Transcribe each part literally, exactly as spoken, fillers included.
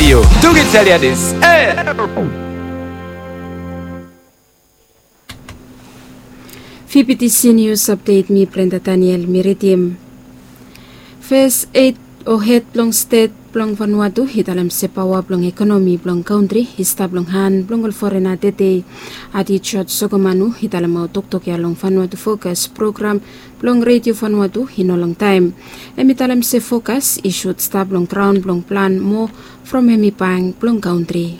Yu tuki Chaliadis. E. Fifty Seniors Update, mi Brenda Daniel, mi ridim. Fes ed o hed blong stet blong Vanuatu i talem se paoa blong ekonomi blong kantri i stap long han blong ol forena tede. Adi George Sokomanu i talemaot toktok ya long Vanuatu Fokas program blong Redio Vanuatu i no longtaem. Hem i talem se fokas i sud stap long graon blong plan moa from hem i bank blong kantri.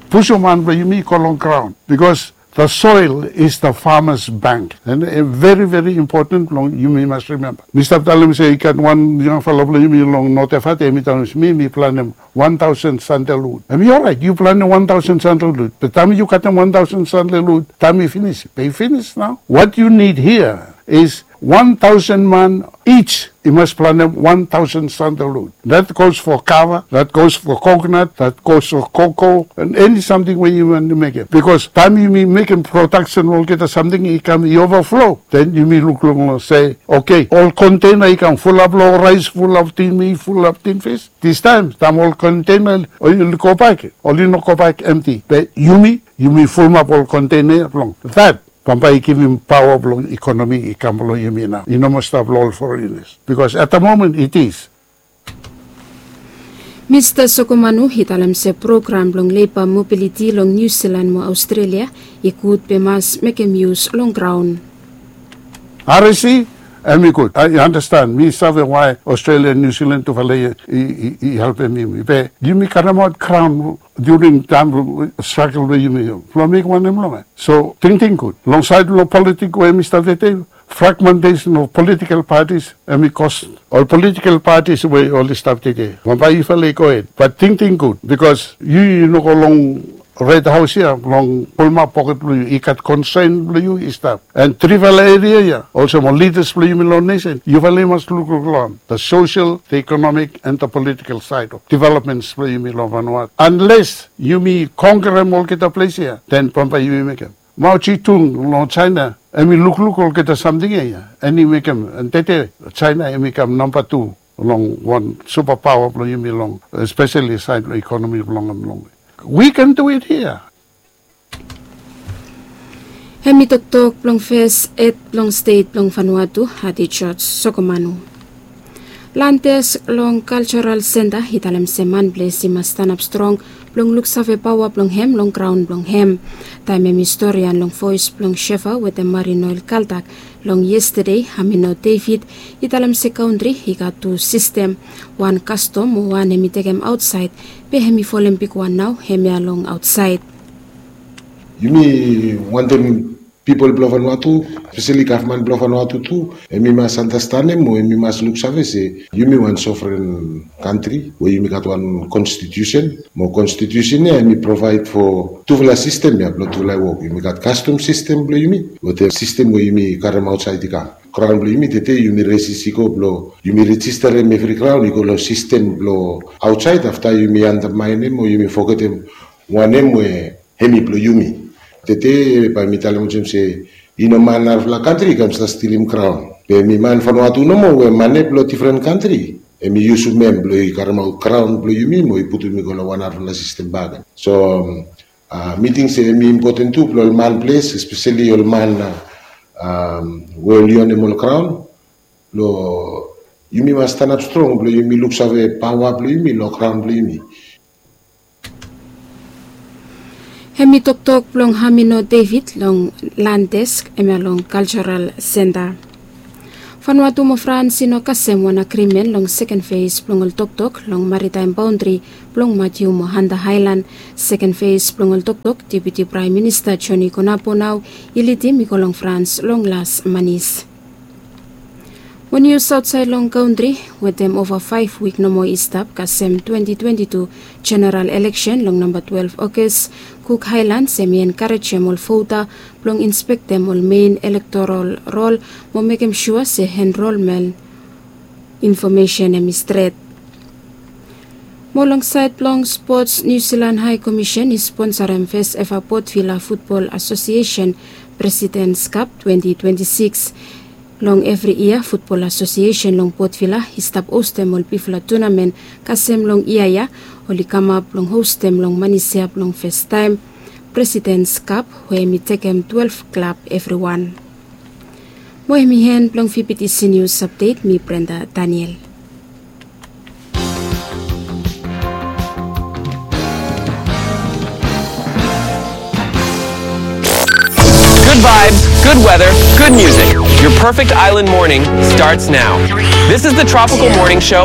Pusum han blong yumi i go long graon, bikos the soil is the farmer's bank. And very, very important blong yumi mas rimemba. Mi stap talem se i gat wan yangfala blong yumi long Notefat, hem i talem se mi, mi planem wan taosen sandalwud. Hem i oraet, yu planem wan taosen sandalwud. Be taem yu katem wan taosen sandalwud, taem i finis, be i finis nao. What you need here is wan taosen man each i mas planem wan taosen sandalwud. That goes for kava, that goes for coconut, that goes for cocoa, and eni samting we yu wantem mekem. Bikos taem yumi mekem prodaksen olgeta samting i kam i ovaflo, then yumi lukluk long se, oke, ol kontena i kam fulap long raes, fulap tin mit, fulap tin fis. Distaem, taem ol kontena oli gobak, oli no gobak emti. Be yumi, yumi fulumap ol kontena blong that. Bambae i givim paoa blong ekonomi i kam long yumi nao. I no moa stap long ol forenas. Bikos at the moment it is. Mista Sokomanu i talem se program blong leba mobiliti long Niu Silan mo Aostrelia i gud be mas mekem yus long graon. R S E, hem i gud. I understand. Mi save why Australia and New Zealand tufala i, i, i, i helpem yumi. Be yumi karemaot graon during taem struggle blong yumi. Blong mekem wanem long hem. So tingting gud. Long saed blong politik we mi stap tede, fragmentation of political parties, hem i kos ol political parties we oli stap tede. Bambae yufala i gohed. But tingting gud, bikos yu, yu no go long Red Haos ya blong pulumap poket blong yu. I gat konsern blong yu i stap. And trifala eria ya, olsem ol lidas blong yumi long nesen, yufala i mas lukluk long the social, the economic, and the political side of developments blong yumi long Vanuatu. Unless yumi konkerem olgeta ples ya, then bambae yumi mekem. Mao Zedong long China, hem i lukluk olgeta samting ya, ya. And i mekem, and tede China hem i kam namba tu long wan supapaoa blong yumi long, especially saed blong ekonomi blong hem long. We can do it here. Hem i toktok blong fes ed blong stet blong Vanuatu, Adi George Sokomanu. Landes long Cultural Centre i talem se manples i mas stanap strong blong luksave paoa blong hem long graon blong hem. Taem hem i storian long voes blong Shefa wetem Marinoel Kaltak long yestede, Hamino David i talem se kantri i gat tu sistem, wan kastom mo wan hem i tekem aotsaed, be hem i folem bigwan nao hemia long aotsaed. Yumi wantem pipol blong Vanuatu, espeseli gavman blong Vanuatu tu, hem i mas andastanem mo hem i mas luksave se yumi wan sovren kantri we yumi gat wan konstitusen, mo konstitusen ya hem i provaed fo tufala sistem ya blong tufala wok. Yumi gat kastom sistem blong yumi wetem sistem we yumi karem aotsaed i kam. Graon blong yumi tede yumi resis i go blong yumi rejisterem evri graon i go long sistem blong aotsaed, afta yumi andamaenem o yumi fogetem wanem we hem i blong yumi. Tede bae mi talem olsem se i no man narafala kantri i kam stap stilim graon. Be mi man Vanuatu nomo we mane blong difren kantri hem i yusum hem blong i karemaot graon blong yumi mo i putum i go long wan narafala sistem bakegen. So, um, a, mi ting se hem i impoten tu blong ol manples, espeseli ol man, a, um, we oli onem ol graon, blong yumi mas stanap strong blong yumi luksave paoa blong yumi long graon blong yumi. Hem i toktok blong Hamino David long Landes, hemia long Cultural Centre. Vanuatu mo Frans i no kasem wan agrimen long seken fes blong ol toktok long maritaem baondri blong Matiu mo Hanta Aelan. Seken fes blong ol toktok, Deputi Praem Minista Johnny Konapo nao i lidim i go long Frans long las manis. Mo nius aotsaed long kantri, wetem ova faef wik nomo i stap kasem twenti twenti tu jeneral eleksen long namba twelef Ogas, Cook Highlands hem i enkarejem ol vota blong inspektem ol mein elektorol rol mo mekem sua se enrolmen infomesen hem i stret. Mo long saed blong spots, Niu Silan Hae Komisen i sponsarem fes eva Port Vila Futbol Asosiesen Presidens Kap twenti twenti sikis. Long evri yia, Futbol Asosiesen long Port Vila i stap ostem ol bigfala tunamen kasem long yia ya, oli kamap blong hostem long Manisia blong fastaem Presidents Cup we hemi tekem twelve klab evriwan. Mo hemi en blong V B T C News Update, mi Brenda Daniel. Good vibes, good weather, good music. Your perfect island morning starts now. This is the Tropical Morning Show